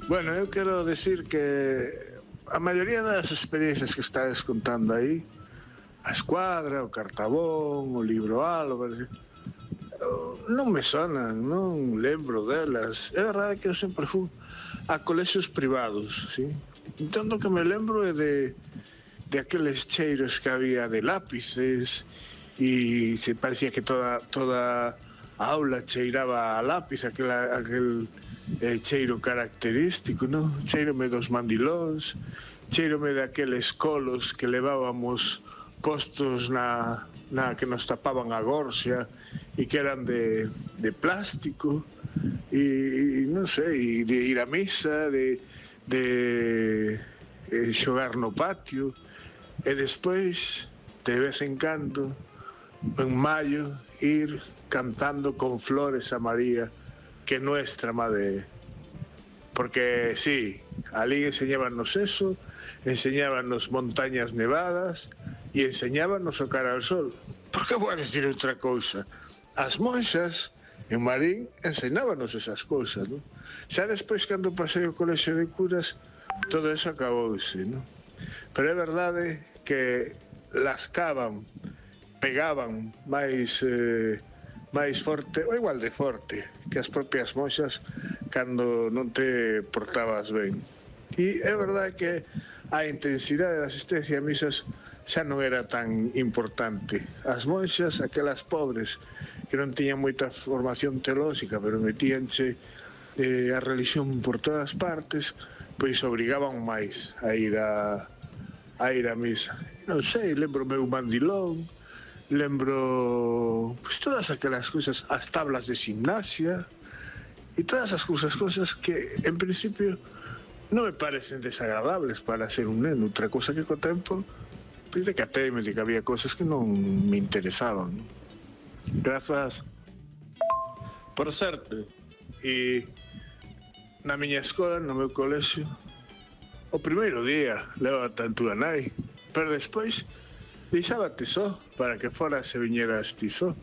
Bueno, eu quero decir que a maioría das experiencias que estades contando aí, a Escuadra, o Cartabón, o Libro Álvaro, non me sonan, non lembro delas. É verdade que eu sempre fui a colexios privados, sí? Entón, o que me lembro é de aqueles cheiros que había de lápices e se parecía que toda a aula cheiraba a lápiz, aquel cheiro característico, non? Cheirome dos mandilóns, cheirome daqueles colos que levábamos postos na que nos tapaban a gorxa e que eran de plástico e non sei, de ir a misa, de xogar no patio e despois de vez en cando en maio ir cantando con flores a María que nuestra madre, porque sí, ali enseñábanos eso, enseñábanos montañas nevadas e enseñábanos o cara al sol. Por que vou a decir outra cousa? As monxas en Marín enseñábanos esas cousas, non? Xa despois, cando pasei o colexio de curas, todo eso acabouse, non? Pero é verdade que lascaban, pegaban máis forte, ou igual de forte, que as propias monxas cando non te portabas ben. E é verdade que a intensidade da asistencia a misas xa non era tan importante. As monxas, aquelas pobres que non tiñan moita formación teolóxica, pero metíanse a religión por todas partes, pois obrigaban máis a ir a misa. Non sei, lembro meu mandilón, lembro pues, todas aquelas cousas, as tablas de gimnasia e todas as cousas que en principio non me parecen desagradables para ser un neno. Outra cousa que co tempo decateime de que había cousas que non me interesaban. Grazas. Por certo, e na miña escola, no meu colexio, o primeiro día leva tanto a nai, pero despois deixábate só para que fora se viñeras ti só.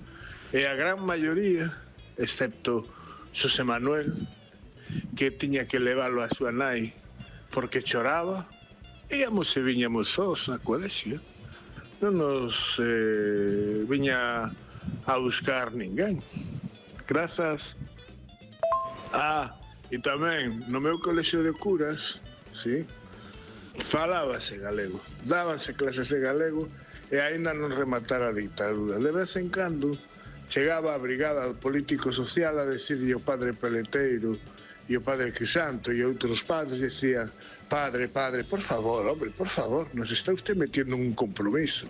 E a gran maioría, excepto Xosé Manuel, que tiña que leválo a súa nai porque choraba, íamos e viñamos sós a colexio. Non nos viña a buscar ninguén. Grazas. E tamén no meu colexio de curas, sí, falábase galego, dábanse clases de galego e aínda non rematara a ditadura. De vez en cando chegaba a brigada político-social a decirlle o padre Peleteiro e o padre Crisanto e outros padres decían: padre, por favor, hombre, por favor, nos está usted metiendo en un compromiso.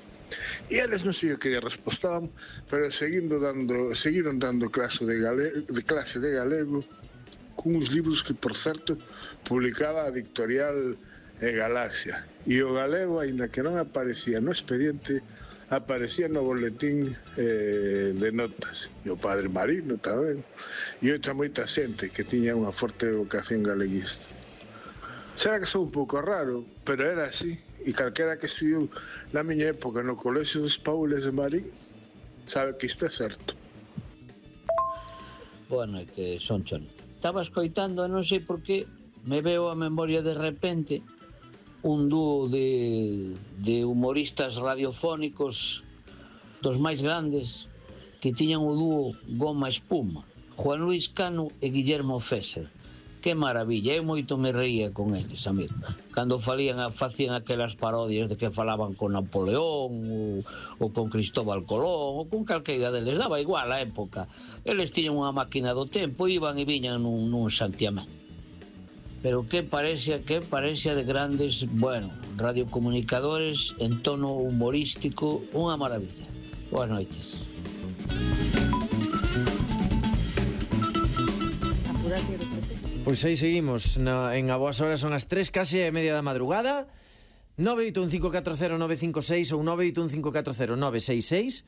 E eles non sei o que lle respostaban, pero seguiron dando clase de galego con uns libros que, por certo, publicaba a editorial Galaxia. E o galego, aínda que non aparecía no expediente, aparecía no boletín de notas. E o padre Marino tamén. E outra moita xente que tiña unha forte vocación galeguista. Será que sou un pouco raro, pero era así. E calquera que estudiou na miña época no colexio dos Paules de Marín sabe que isto é certo. Boa noite, Sonchon. Estaba escoitando, non sei por que me veo a memoria de repente un dúo de humoristas radiofónicos dos máis grandes que tiñan o dúo Goma Espuma, Juan Luis Cano e Guillermo Fesser. Que maravilla, eu moito me reía con eles, amigo. Cando facían aquelas parodias de que falaban con Napoleón ou con Cristóbal Colón ou con calqueira deles, daba igual a época. Eles tiñan unha máquina do tempo, iban e viñan nun santiamén. Pero que parecía de grandes, bueno, radiocomunicadores en tono humorístico, unha maravilla. Boas noites. Pois aí seguimos en A Boas Horas, son as 3 case e media da madrugada. 981540956 ou 981540966.